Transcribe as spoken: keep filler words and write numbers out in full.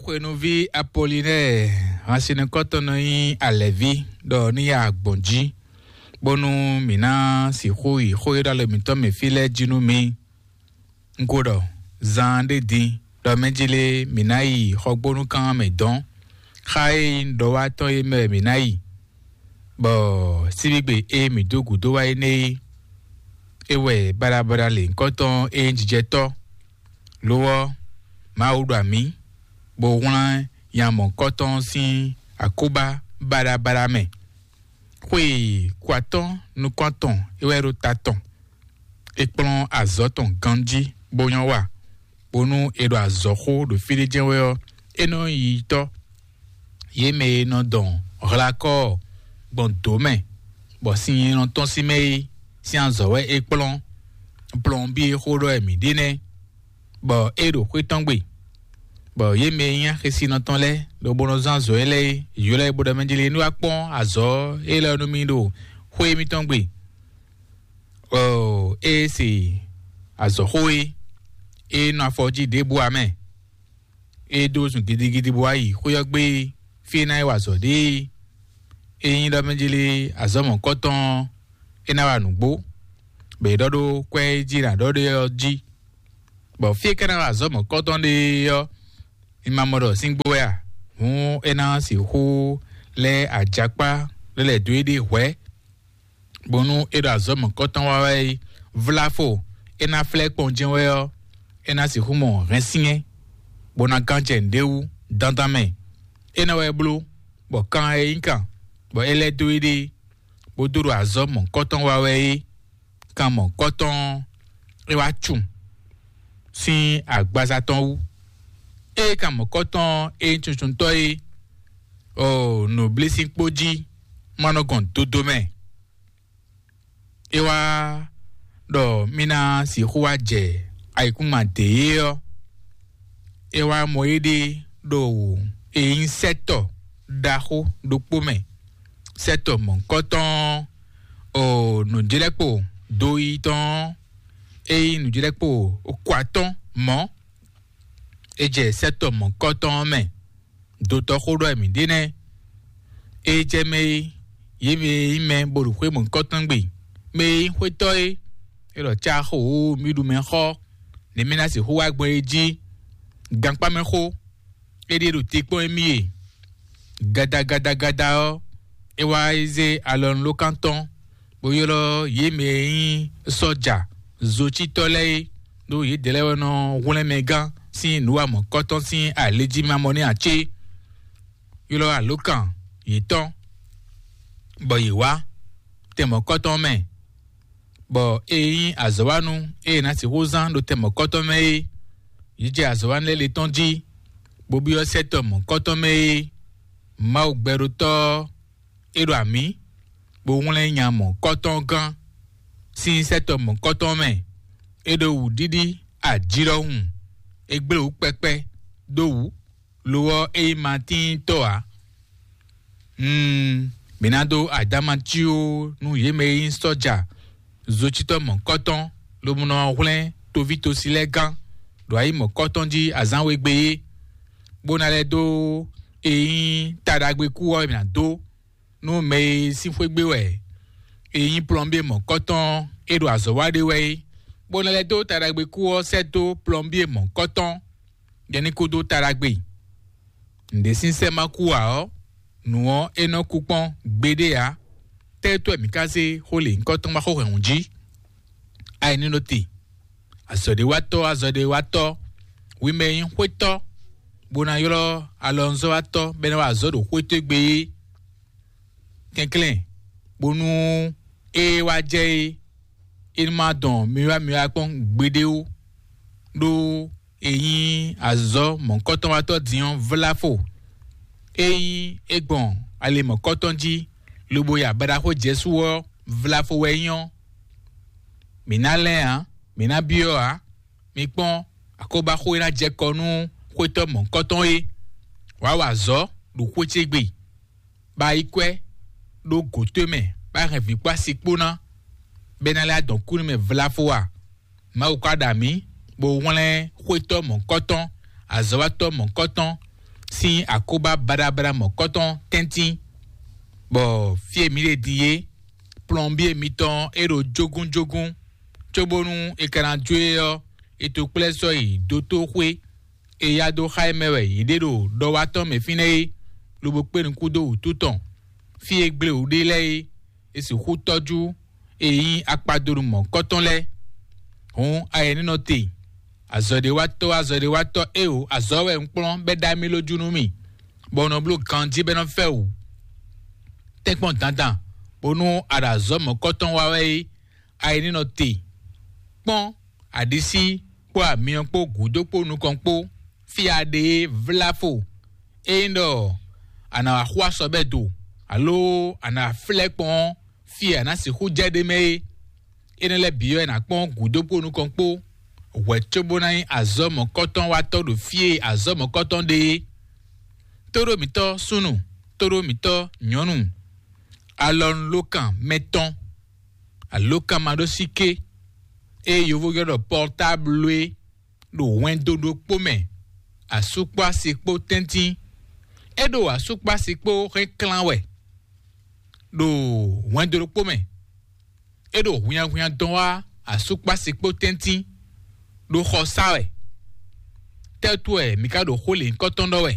Xwénuví Apolinɛ́ɛ, hansinukɔntɔn nɔ nyí alɛ̌ví, ɖɔ ní ya gbɔn jí, bónú mǐ ná sixú yi xó e ɖo alɔ mǐtɔn mɛ fí lɛ́ɛ jí nú mǐ. Un ko ɖɔ zaan ɖé din ɖɔ mɛ jí lé mǐ ná yi xɔgbónúkan mɛ dɔn. Xá e nyí ɖɔwátɔ́ e mɛ wɛ mǐ ná yi, bɔ síbígbe e mǐ dó gǔdo wá énɛ́ é, é wɛ baɖabaɖa lěhunkɔtɔn e nyí jijɛtɔ́. Lo ɔ́, Mawu ɖo amǐ, bó wlán nya mɔ̌hunkɔtɔn sín akóbá baɖabaɖa mɛ. Xwe kɔ atɔ́ɔ́n nukɔn atɔn é wɛ ɖo ta tɔn. É kplɔ́n azɔ̌ tɔn ganjí bó nyɔ́ wa, bónú è ɖo azɔ̌ xó ɖo fí ɖé jɛ́n wɛ ɔ́, é nɔ nyí yiyitɔ́. Yě mɛ e nɔ dɔn hlakɔ́ gbɔn dǒ mɛ, bɔ sin e nɔ tɔ́n sín mɛ é sín azɔ̌ wɛ é kplɔ́n. Plɔnbí e xó ɖɔ wɛ mǐ ɖe nɛ́, bɔ é ɖo xwé tɔn gbe, bɔ yě mɛ e nyí axésinɔ tɔn lɛ́ɛ, lobo nɔ zán azɔ̌ élɔ́ é, ylɔ́ é bó ɖɔ mɛ jí lé ní wá kpɔ́n azɔ̌ élɔ́ nú mì ɖo xwé mitɔn gbe. Ɔ, é se azɔ̌xó e, é nɔ afɔ jí ɖěbǔ ǎ mɛ. É dó zun gidigidi bó wá yi xwé ɔ́ gbé, fí e ná é wa azɔ̌ ɖe é. É nyí ɖɔ mɛ jí lé azɔ̌ mɔ̌kɔtɔn ɔ́, é ná wa nǔgbó, bɔ è ɖɔ ɖó kwɛ́ e jí è nǎ ɖɔ ɖe ɔ́ jí. Bɔ fí e ka ná wa azɔ̌ mɔ̌kɔtɔn ɖe ɔ́, mi ma mɔ ɖɔ síngbó wɛ a? Hǔn é ná sixú lɛ́ ajakpá lɛ́ lɛ̌ dó éɖée hwɛ̌, bónú é ɖo azɔ̌ mɔ̌kɔtɔn wa wɛ é, vláfo é ná flɛ́ kpɔn jɛ́n wɛ ɔ́, é ná sixú mɔ hɛnsyɛ́n, bó ná gán jɛ nǔɖé wú dandan mɛ. É nɛ́ wɛ bló, bɔ kan e nyí kan, bɔ é lɛ́ dó éɖée, bó dó ɖo azɔ̌ mɔ̌kɔtɔn wa wɛ é, kan mɔ̌kɔtɔn ɔ́, é wá cu sín agbaza tɔn wú. Ée kan mɔ̌kɔtɔn e nyí cucuntɔ́ é, ɔ, nǔblísínkpó jí ma nɔ gɔn dodo mɛ. É wá ɖɔ mì ná sixú wá jɛ ayǐkúngban dě é ɔ́, é wá mɔ éɖée ɖo e nyí sɛ́tɔ ɖaxó ɖokpó mɛ, sɛ́tɔ mɔ̌hunkɔtɔn ɔ́, o nǔjlɛ́kpo do yi tɔn ɔ́, é nyí nǔjlɛ́kpo kɔ atɔ́ɔ́n mɔ̌. É jɛ sɛ́tɔ mɔ̌hunkɔtɔn ɔ́ mɛ. Dotɔ́ xó ɖɔ wɛ mǐ ɖe nɛ́. É jɛ mɛ e yě mɛ e nyí mɛ bó ɖo xwé mɔ̌hunkɔtɔn gbe, mɛ e nyí xwétɔ́ é, é ɖɔ cá xo wǒ mì ɖu mɛ xɔ, nɛ̌ mì ná sixú wá gbɔn é jí? Gankpá mɛ xó, é ɖíe ɖo te kpɔ́n émí e. Gadagadagada ɔ́, é wá yi zé alɔnulókan tɔn, bó ylɔ́ yě mɛ e nyí sɔ́ja zocítɔ́ lɛ́ɛ é, ɖó yědɛɛ lɛ́ɛ wɛ nɔ hwlɛ́n mɛ gán sín nǔ wa mɔ̌kɔtɔn sín alějímamɔ nɛ́ ǎ cé? Ylɔ́ alǒkan yětɔn, bɔ yě wá tɛn mɔ̌kɔtɔn mɛ, bɔ é nyí azɔ̌wánu e è nǎ sixú zán ɖo tɛn mɔ̌kɔtɔn mɛ é. Yě jɛ azɔ̌wánu lɛ́ɛ le tɔn jí, bó byɔ́ sɛ́tɔ mɔ̌kɔtɔn mɛ é. Mawu gbɛɖótɔ́ ɔ́, é ɖo amǐ, bó hwlɛ́n nya mɔ̌kɔtɔn gán sín sɛ́tɔ mɔ̌kɔtɔn mɛ. É ɖo wǔɖiɖi ají ɖɔhun, é gblé wǔ kpɛkpɛ dó wǔ, lo ɔ́, é nyí Matín tɔ́ ǎ. Mm, mǐ ná dó adama cí ó nú yě mɛ e nyí sɔ́ja zocítɔ́ mɔ̌kɔtɔn, lobo nɔ hwlɛ́n toví tosi lɛ́ɛ gán ɖo ayǐ mɔ̌kɔtɔn jí azǎn we gbe é, bó ná lɛ́ dó e nyí taɖagbe kú ɔ́, mǐ ná dó nú mɛ e sín xwé gbe wɛ e nyí plɔ́nbíe mɔ̌kɔtɔn e ɖo azɔ̌ wa ɖe wɛ é, bó ná lɛ́ dó taɖagbe kú ɔ́ sɛ́ dó plɔ́nbíe mɔ̌kɔtɔn, jɛ ní kú dó taɖagbe. Nǔɖé sín sɛ́ ma kú ǎ ɔ́, nǔ ɔ́ é nɔ kú kpɔ́n gbeɖé ǎ. Tɛ́tɔ́ mǐ ka zé xó lě nyǐkɔ tɔn ma xó hɛ̌nnu jí? Ayǐnínɔtɛn, azɔ̌ɖéwatɔ́, azɔ̌ɖéwatɔ́, hwi mɛ e nyí xwétɔ́, bó ná ylɔ́ alɔnuzɔ́watɔ́ bɔ é ná wa azɔ̌ ɖo xwé towe gbe é. Kɛnklɛ́n, bónú é wá jɛ é, é ní ma dɔn mi wá mi wá kpɔ́n gbeɖé ó, ɖó e nyí azɔ̌ mɔ̌kɔtɔnwatɔ́ din ɔ́ vláfo. É nyí é gbɔn ali mɔ̌kɔtɔn jí, lobo ya baɖaxó Jezu ɔ́, vláfo wɛ é nyí ɔ́. Mǐ ná lɛ́n ǎ, mǐ ná byɔ́ ǎ. Mi kpɔ́n, akóbáxó e ná jɛ kɔ nú xwétɔ́ mɔ̌kɔtɔn é. Wǎ wa azɔ̌ ɖo xwé ce gbe, bá yi kwɛ́ ɖó gǒ towe mɛ, bá hɛn vǐ kpó asi kpó ná, bɔ é ná lɛ́ adɔn kú nú mɛ vlafo a? Mawu ka ɖa mǐ, bó hwlɛ́n xwétɔ́ mɔ̌kɔtɔn, azɔ̌watɔ́ mɔ̌kɔtɔn, sín akóbá baɖabaɖa mɔ̌kɔtɔn tɛ́ntin, bɔ fí e mǐ ɖe din é, plɔnbíe mitɔn é ɖo jógúnjógún, cóbónú è ka ná jó e ɔ́, è to kplɛ́ sɔ́ yi dótóxwé. È ya dó xá e mɛ wɛ yě ɖe ɖo ɖɔwatɔ́ mɛ fínɛ́ é, lobo kpé nukún dó wǔtu tɔn. Fí e gblé wǔ ɖe lɛ́ɛ é, è sixú tɔ́jú e nyí akpadonu mɔ̌kɔtɔn lɛ́ɛ. Hǔn ayɛnínɔ te, azɔ̌ɖéwatɔ́ azɔ̌ɖéwatɔ́ éeǒ, azɔ̌ wɛ un kplɔ́n bɔ é ɖa mì lójú nú mì, bɔ un nɔ bló ganjí bɔ é nɔ fɛ wǔ. Tɛ́nkpɔ́n dandan, bónú a ɖo azɔ̌ mɔ̌kɔtɔn wa wɛ é, ayɛnínɔ te. Kpɔ́n, aɖisí kpó amyɔ kpó gǔdo kpó nukɔn kpó, fí a ɖe é vlá fo. Ényí ɖɔ a nǎ wá xo asɔbɛ́ do, alo a nǎ flɛ́ kpɔn ɔ́, fí e a nǎ sixú jɛ ɖ'é mɛ é. Énɛ́ lɛ́ɛ bǐ wɛ è nǎ kpɔ́n gǔdo kpó nukɔn kpó, hwɛ̌ cóbó ná nyí azɔ̌ mɔ̌kɔtɔn watɔ́ ɖo fí e azɔ̌ mɔ̌kɔtɔn ɖe é. Tóɖó mǐtɔ́ súnnu, tóɖó mǐtɔ́ nyɔ̌nu, alɔnulókan mɛtɔn, alókan maɖósíké, ée yovó ylɔ́ ɖɔ pɔrtáblu é, ɖo hwɛndo ɖokpó mɛ, asú kpó asi kpó tɛ́ntin. É ɖo asú kpó asi kpó hɛn klán wɛ ɖo hwɛndo ɖokpó mɛ. É ɖo hwinnyahwinnya dɔn wá asú kpó asi kpó tɛ́ntin ɖo xɔ sá wɛ. Tɛ́tú wɛ mi ka ɖo xó lěhunkɔtɔn ɖɔ wɛ?